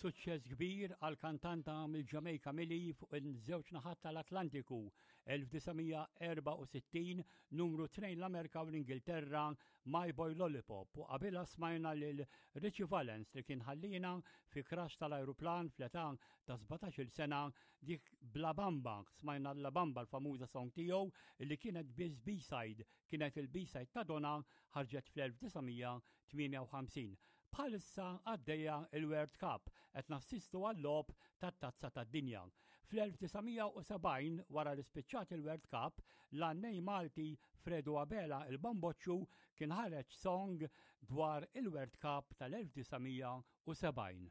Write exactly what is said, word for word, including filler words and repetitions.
Suċċess kbir għal kantanta mill-Ġamejka Millie fuq il-żewġ naħat tal-Atlantiku elf disa' mija erbgħa u sittin, numru tnejn l-Amerika u l-Ingilterra, My Boy Lollipop, u qabilha smajna lil Richie Valens, li kien ħallina fi crash tal-ajruplan fl-età ta' sbatax-il sena, dik La Bamba. Smajna La Bamba, l-famuża song tiegħu li kienet biss B-side, kienet il-B-side ta' Donna, ħarġet fl-elf disa' mija tmienja u ħamsin. Bħalissa għaddejja il-World Cup, qed nassistu għal-logħob tat-Tazza tad-Dinja. Fl-elf disa' mija u sebgħin, wara li spiċċat il-World Cup, l-għannej Malti Fredu Abela il-Bamboċċu kien ħareġ song dwar il-World Cup tal-elf disa' mija u sebgħin.